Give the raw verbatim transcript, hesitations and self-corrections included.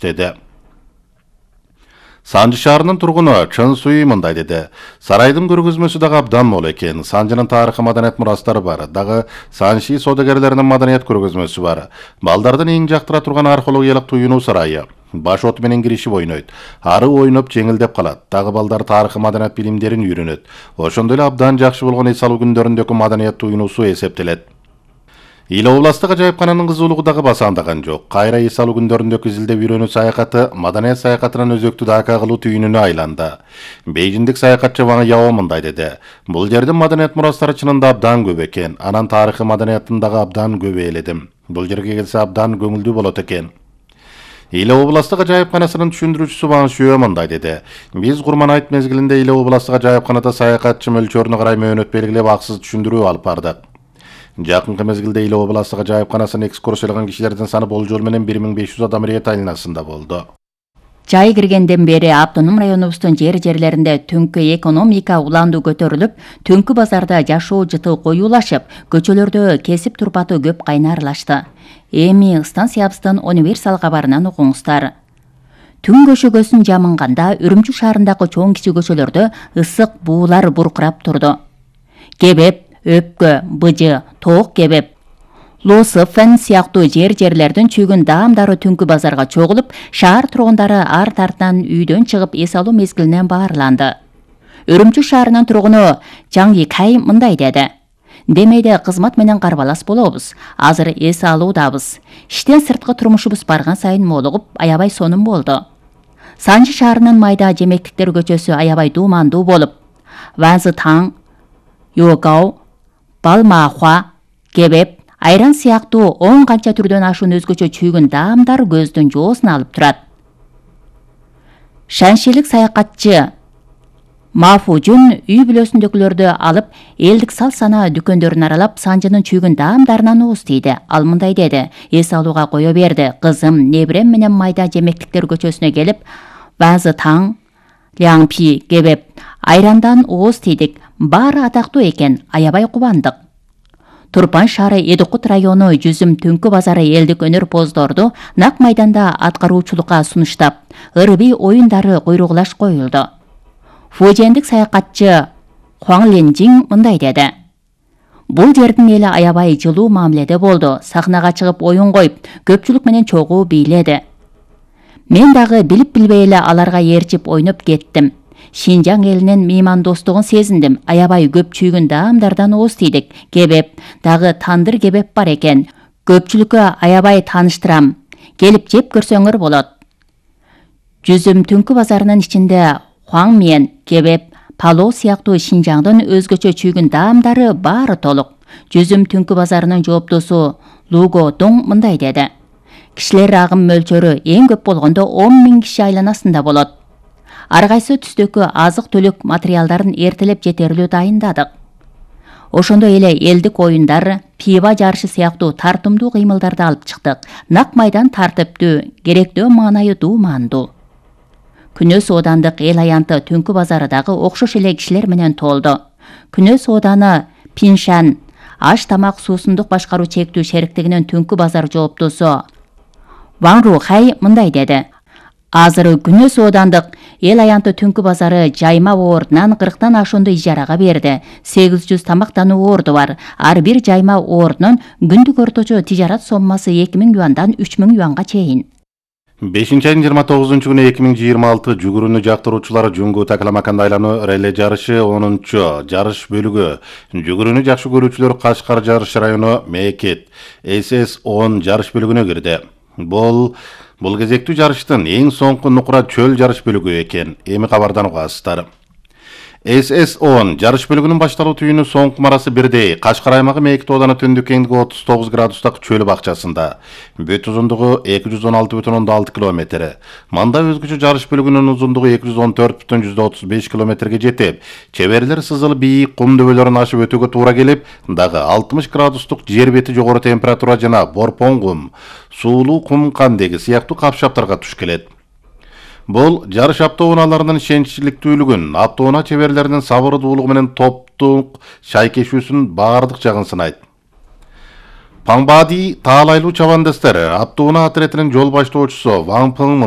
иштеди. Санжы шаарынын тургуну Чын Суй мындай деди. Сарайдын көргөзмөсү дагы абдан мол экен. Санжынын тарыхы, маданият мурастары бар. Дагы Санжи соодагерлеринин маданият көргөзмөсү бар. Балдардын эң жактыра турган археологиялык туюнуу сарайы. Баш от менен киришип ойнойт. Ары ойноп жеңилдеп калат. Дагы балдар тарыхы, маданият билимдерин үйрөнөт. Ошондой эле абдан жакшы болгон эс алуу күндөрүндөгү маданият туюнуусу эсептелет. Ил областык ажайыпкананын кызуулугу дагы басаандаган жок. Кайра эс алуу күндөрүндөгү изилдеп үйрөнүү саякаты маданият саякатынан өзөктүү дака кылуу түйүнүнө айланды. Бейжиндик саякатчы Ваң Яо мындай деди. Бул жердин маданият мурастары чынында абдан көп экен. Анан тарыхы, маданиятын дагы абдан көп ээледим. Бул жерге келсе абдан көңүлдүү болот экен. Ил областык ажайыпканасынын түшүндүрүүчүсү Ваң Шуэ мындай деди. Биз Курман-айт мезгилинде Ил областык ажайыпканада саякатчы мөлчөрүнө карай мөөнөт белгилеп акысыз түшүндүрүү алып бардык. Жакынкы мезгилде Ил областык ажайыпканасына экскурсияланган кишилердин саны болжол менен бир миң беш жүз адам рет айланасында болду. Жай киргенден бери автоном районубуздун жер жерлеринде түнкү экономика уланду көтөрүлүп, түнкү базарда жашоо жыты коюулашып, көчөлөрдө кесип турпаты көп кайнарлашты. Эми станциябыздын универсал кабарынан окуңуздар. Түн көшөгөсүн жамынганда Үрүмчү шаарындагы чоң кичи көчөлөрдө ысык буулар буркурап турду. Кебеп, өпкө, быжы, тоок кебеп, Лософен сыяктуу жер жерлердин чүйгүн даамдары түнкү базарга чогулуп, шаар тургундары ар тартынан үйдөн чыгып эс алуу мезгилинен баарланды. Үрүмчү шаарынын тургуну Жаң Икай мындай деди. Демейде кызмат менен карбалас болобуз. Азыр эс алуудабыз. Иштен сырткы турмушубуз барган сайын молугуп, аябай сонун болду. Санжы шаарынын майда жемектиктер көчөсү аябай дуумандуу болуп, Ванзы Таң, Йогау, Балмахуа, Кебеп, айран сыяктуу он канча түрдөн ашуун өзгөчө чүйгүн даамдар көздүн жоосун алып турат. Шаншилик саякатчы Мафужун үй бүлөсүндөгүлөрдү алып, элдик сал сана дүкөндөрүн аралап, Санжынын чүйгүн даамдарынан ууз тийди. Ал мындай деди. Эс алууга кое берди. Кызым, небирем менен майда жемектиктер көчөсүнө келип, Ванзы Таң, Ляңпи, Кебеп, айрандан ооз тийдик. Баары атактуу экен, аябай кубандык. Турпан шаары Эдикут району Жүзүм түнкү базары элдик өнөр поздорду нак майданда аткаруучулукка сунуштап, ырби оюндары куйругулаш коюлду. Фужендик саякатчы Хуаң Ленжиң мындай деди. Бул жердин эли аябай жылуу мамиледе болду. Сахнага чыгып оюн коюп, көпчүлүк менен чогуу бийледи. Мен дагы билип билбей эле аларга ээрчип ойноп кеттим. Шинжаң элинин меймандостугун сезиндим. Аябай көп чүйгүн даамдардан ооз тийдик. Кебеп, дагы тандыр кебеп бар экен. Көпчүлүккө аябай тааныштырам. Келип жеп көрсөңөр болот. Жүзүм түнкү базарынын ичинде Хуаң Мен, Кебеп, Пало сыяктуу Шинжаңдын өзгөчө чүйгүн даамдары баары толук. Жүзүм түнкү базарынын жооптосу Луго Доң мындай деди. Кишилер агым мөлчөрү эң көп болгондо он миң киши айланасында болот. Ар кайсы түстөгү азык түлүк материалдарын эртелеп жетерлүү дайындадык. Ошондой эле элдик оюндар, пиво жарышы сыяктуу тартымдуу кыймылдарды алып чыктык. Нак майдан тартиптүү, керектөө маанайы дуумандуу. Күнөс оодандык эл аянты түнкү базары дагы окшош эле кишилер менен толду. Күнөс ооданы Пиншан аш тамак суусундук башкаруу чектүү шериктигинин түнкү базар жооптосу Ваң Рухай мындай деди. Азыр Күнөс оодандык эл аянты түнкү базары жайма ордунан кырктан ашуунду ижарага берди. сегиз жүз тамактануу орду бар. Ар бир жайма ордунун күндүк орточо тижарат соммасы эки миң юандан үч миң юанга чейин. бешинчи айдын жыйырма тогузунчу күнү эки миң жыйырма алты жүгүрүүнү жактыруучулар Жунгу Такаламаканда айлануу реле жарышы онунчу жарыш бөлүгү. Жүгүрүүнү жакшы көрүүчүлөр Кашкар жарыш району Мекет эс эс он жарыш бөлүгүнө кирди. Бул бул кезектүү жарыштын эң соңку нукура чөл жарыш бөлүгү экен. Эми кабардан угасыздар. эс эс он жарыш бөлүгүнүн башталуу түйүнү соңку марасы бирдей. Кашкар аймагы Мекит ооданы түндүк кеңдиги отуз тогуз градустак чөл бакчасында. Бүт узундугу эки жүз он алты бүтүн ондон алты километр. Мында өзгөчө жарыш бөлүгүнүн узундугу эки жүз он төрт бүтүн жүздөн отуз беш километрге жетип, чеберлер сызыл бийик кум дөбөлөрүн ашып өтүүгө туура келип, дагы алтымыш градустук жер бети жогору температура жана борпон кум, суулуу кум кандеги сыяктуу капшаптарга туш келет. Бул жарыш автоунааларынын ишеничтүүлүгүн, автоунаа чеберлеринин сабырдуулугу менен топтук шайкешүүсүнүн баардык жагын сынайт. Паңбади таалайлуу чабандастар автоунаа отрядынын жол баштоочусу Ваң Пың